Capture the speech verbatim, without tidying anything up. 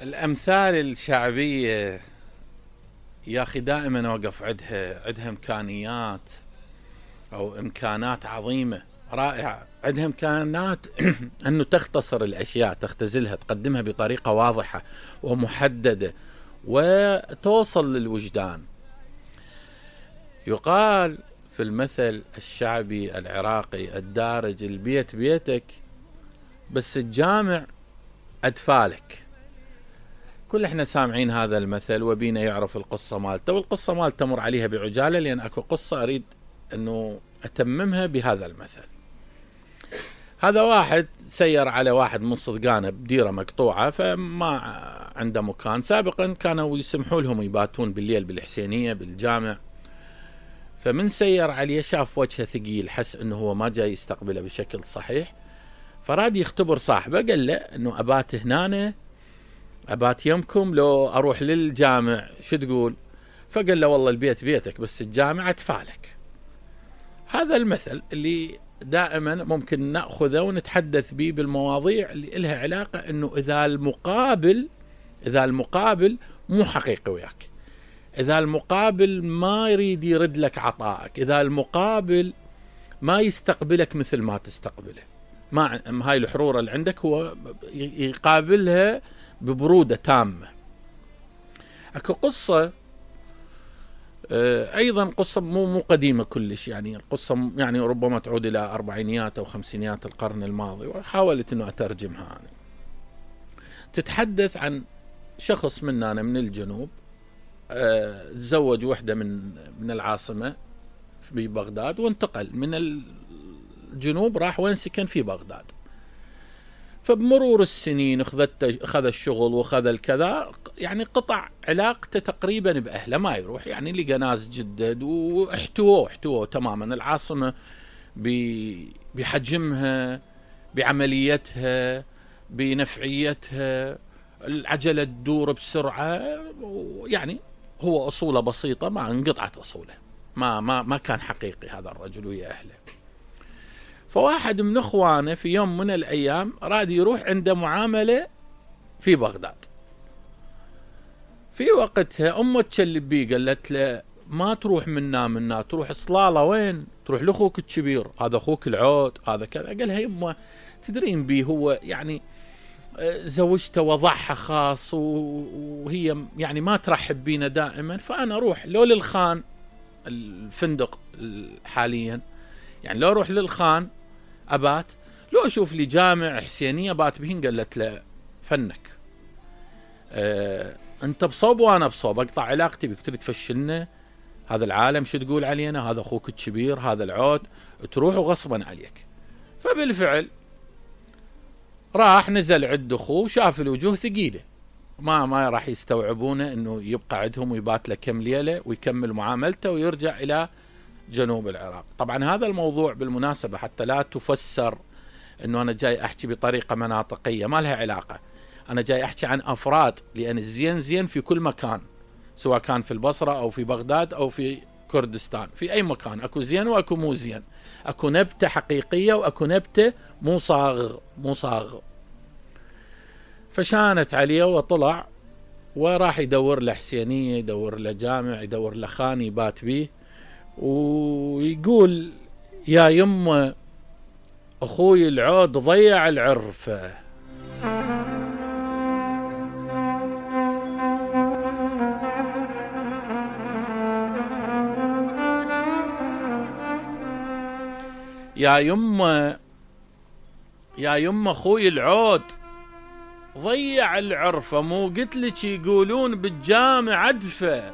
الأمثال الشعبية يا أخي دائما أوقف عندها عندها إمكانيات أو إمكانات عظيمة رائعة، عندها إمكانات أنه تختصر الأشياء، تختزلها، تقدمها بطريقة واضحة ومحددة وتوصل للوجدان. يقال في المثل الشعبي العراقي الدارج: البيت بيتك بس الجامع أدفالك. كل احنا سامعين هذا المثل وبينا يعرف القصة مالته، والقصة مالته تمر عليها بعجالة لأن أكو قصة أريد أنه أتممها بهذا المثل. هذا واحد سير على واحد من صدقانه بديرة مقطوعة، فما عنده مكان. سابقا كانوا يسمحوا لهم يباتون بالليل بالحسينية بالجامع، فمن سير عليه شاف وجهه ثقيل، حس أنه هو ما جاي يستقبله بشكل صحيح، فراد يختبر صاحبه، قال له أنه أبات هنا، أبات يمكم لو أروح للجامع، شو تقول؟ فقال له والله البيت بيتك بس الجامع أدفالك. هذا المثل اللي دائما ممكن نأخذه ونتحدث به بالمواضيع اللي لها علاقة أنه إذا المقابل إذا المقابل مو حقيقي وياك، إذا المقابل ما يريد يرد لك عطائك، إذا المقابل ما يستقبلك مثل ما تستقبله، ما هاي الحرورة اللي عندك هو يقابلها ببرودة تامة. اكو قصة ايضا قصة مو مو قديمة كلش، يعني القصة يعني ربما تعود الى اربعينيات او خمسينيات القرن الماضي، وحاولت انه اترجمها أنا. تتحدث عن شخص مننا من الجنوب تزوج وحدة من من العاصمة في بغداد، وانتقل من الجنوب راح وين سكن في بغداد. فبمرور السنين اخذت اخذ الشغل واخذ الكذا، يعني قطع علاقته تقريبا باهله، ما يروح، يعني لقى ناس جدد واحتووه احتووه تماما. العاصمه بحجمها، بعمليتها، بنفعيتها، العجله تدور بسرعه، يعني هو اصوله بسيطه، ما انقطعت اصوله، ما ما ما كان حقيقي هذا الرجل ويا اهله. فواحد من اخوانه في يوم من الايام راد يروح عنده معامله في بغداد. في وقتها امه تشلب بيه، قالت له ما تروح منا منا، تروح صلاله وين؟ تروح لاخوك الكبير، هذا اخوك العود، هذا كذا. قالها يمه تدرين بيه هو يعني زوجته وضعها خاص وهي يعني ما ترحب بينا دائما، فانا اروح لو للخان الفندق حاليا، يعني لو اروح للخان ابات، لو اشوف لي جامع حسينيه بات بهن. قالت له فنك، اه انت بصوب وانا بصوب، اقطع علاقتي بك، تريد تفشلنا، هذا العالم شو تقول علينا، هذا اخوك الكبير، هذا العود، تروح وغصبا عليك. فبالفعل راح نزل عند اخوه، شاف الوجوه ثقيله، ما ما راح يستوعبونه انه يبقى عندهم ويبات له كم ليله ويكمل معاملته ويرجع الى جنوب العراق. طبعا هذا الموضوع بالمناسبة حتى لا تفسر انه انا جاي احكي بطريقة مناطقية، ما لها علاقة، انا جاي احكي عن افراد، لان الزين زين في كل مكان، سواء كان في البصرة او في بغداد او في كردستان، في اي مكان اكو زين واكو مو زين، اكو نبتة حقيقية واكو نبتة مو صاغ مو صاغ. فشانت عليه وطلع وراح يدور له حسينية، يدور له جامع، يدور له خان يبات بيه، ويقول يا يمه اخوي العود ضيع العرفة. يا يمه يا يمه اخوي العود ضيع العرفة، مو قلت لك يقولون بالجامع عدفة.